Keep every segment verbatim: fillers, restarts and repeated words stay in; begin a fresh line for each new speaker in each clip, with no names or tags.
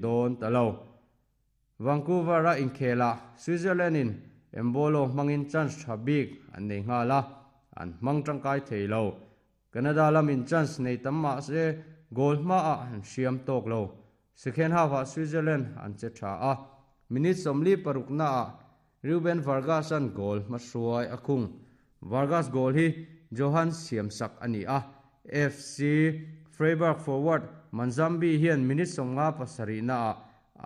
Dawn ta lo. Vancouver a inkhela Switzerland in Embolo hmangin chance tha bik an nei nghala an hmang tangkai thei lo. Canada lamin chance nei tam ma se goal hma a an siam tawk lo. Second half a Switzerland an che tha a minute sawmli paruk na a Ruben Vargas an goal hmahruai a khung. Vargas goal hi Johan Siamsak ani a. F C Freiburg forward Manzambi hian minute sawmnga pasarih na a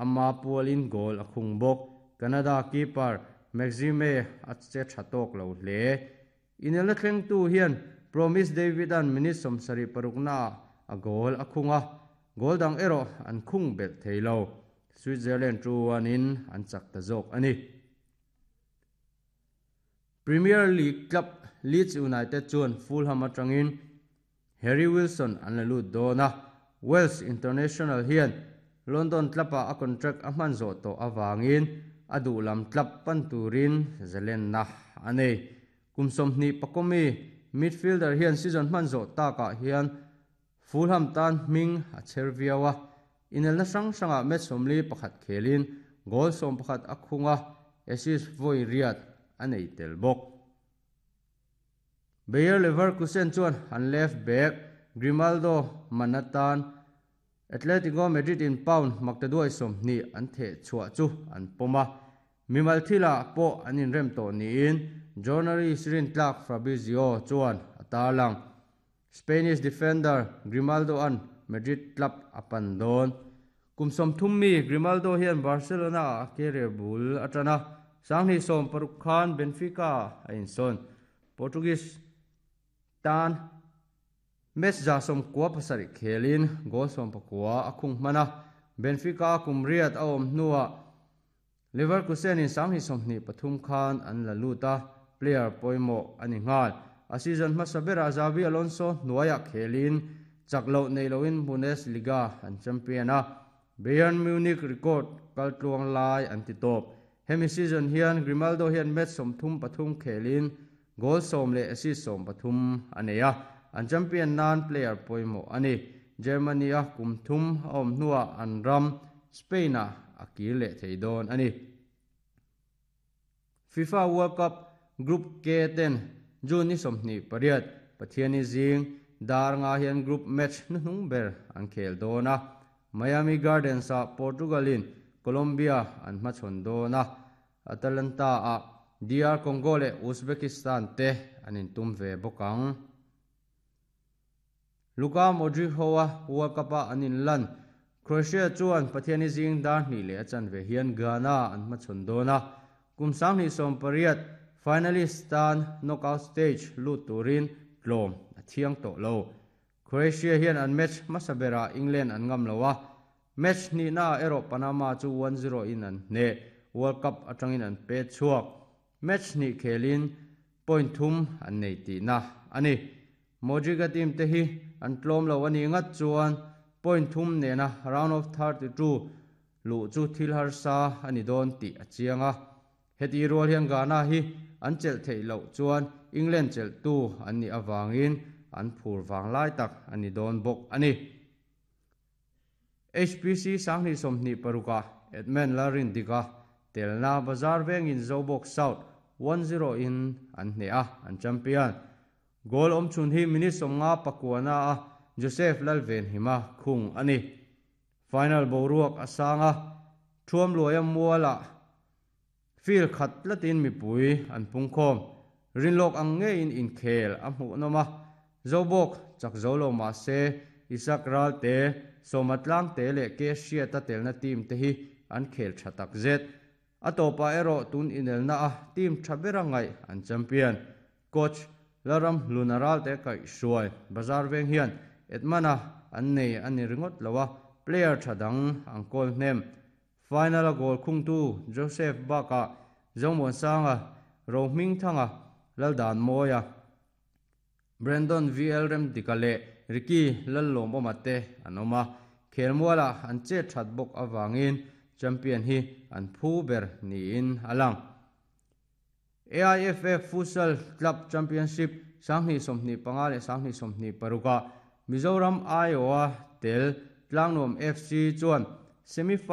ama pualin goal a khung bawk. Canada keeper Maxime a che tha tawk lo hle. Inelna thleng tu hian Promise David an minute sawmsarih paruk na a goal a khunga goal dang erawh an khung belh thei lo. Switzerland two one in an chak ta zawk ani. Premier League club Leeds United chuan Fulham atangin Harry Wilson an la lut dawn a. Wales International hian London club a a contract a hman zawh tawh awangin a duh lam club pan turin zalen na anei. Kum sawmhnih pakomi midfielder hian season hman zawh takah hian Fulham tan hming a cher viau a. Inelna hrang hrangah match sawmli pakhat khelin goal sawm pakhat a khunga assist vawi riat a nei tel bawk. Bayer Leverkusen chuan an left back Grimaldo manatan Atletico Madrid in pound maktaduai sawmhnih an theh chhuah chu an pawm a. Mimal thila pawh an inrem tawh niin journalist rin tlak Fabrizio chuan a tarlang. Spanish defender Grimaldo an Madrid club a pan dawn. Kum sawmthum mi Grimaldo hian Barcelona a career bul atana sanghnih sawm paruk khan Benfica a insawn. Portuguese tan match za sawm kua pasarih khelin goal sawm pakua a khung hmana. Benfica kum riat a awm hnuah Leverkusen in sanghnih sawmhnih pathum khan an la lut a player pawimawh ani nghal. A season hmasa berah Xabi Alonso hnuaiah khelin chak loh nei loin Bundesliga an champion a. Bayern Munich record kaltluang lai an ti tawp. Hemi season hian Grimaldo hian match sawmthum pathum khelin goal sawm leh assist sawm pathum a nei a. An champion nan player pawimawh ani. Germany a kum thum a awm hnuah an ram Spain a a kir leh thei dawn ani. FIFA World Cup Group K ten June ni sawmhnih pariat Pathiani zing dar nga hian group match hnuhnung ber an khel dawn a. Miami Gardens a Portugal in Colombia an hmachhawn dawn a. Atalanta a D R Congo leh Uzbekistan te an intum ve bawk ang. Luka Modric hoa World Cup a an inlan Croatia chuan Pathiani zing dar hnih leh a chanve hian Ghana an hmachhawn dawn a. Kum sanghnih sawm pariat finalist tan knockout stage lut turin tlawm a thiang tawh lo. Croatia hian an match hmasa berah England an ngam lo a. Match hnihna erawh Panama chu one zero in an hne. World Cup atangin an pe chhuak. Match hnih khelin point thum an nei tihna ani. Modric team te hi an tlawm lo ani ngat chuan point thum nena round of thirty-two lu chu thil harsa ani dawn tih a chiang a. Heti rual hian Ghana hi an chelh theih loh chuan England chelh tu an nih awangin an phur wang lai tak ani dawn bawk ani. H P C sanghnih sawmhnih paruka Edmund Larin dika telna Bazar vengin Zobawk South one zero in an hne a an champion. Goal awm chhun hi minute sawmnga pakuana a Joseph Lalven hima khung ani. Final boruak asanga thuam luaia muala fil khat tlatin mipui an pungkhawm. Rinlok ang nge in inkhel a hmuh nawm a. Zobawk chak zo lo ma se Isak ral te Somatlang te leh ke hriata telna team te hi an khel tha tak zet. A topa erawh tun inelna a team tha bera ngai an champion. Coach Laram Lunaral te kai hruai Bazar veng hian Edmana an nei ani ringot lowa player thadang ang kawl hnem. Final a goal khung tu Joseph Baka Zongmon Sanga Rohming Thanga Laldan Moya Brandon V L Rem Dikale Ricky Lallom omate anoma khelmuala an che that bawk awangin champion hi an phu ber niin alang. A I F F Futsal Club Championship sanghnih sawmhnih panga leh sanghnih sawmhnih paruka Mizoram Iowa tel Tlangnuam F C chuan Semi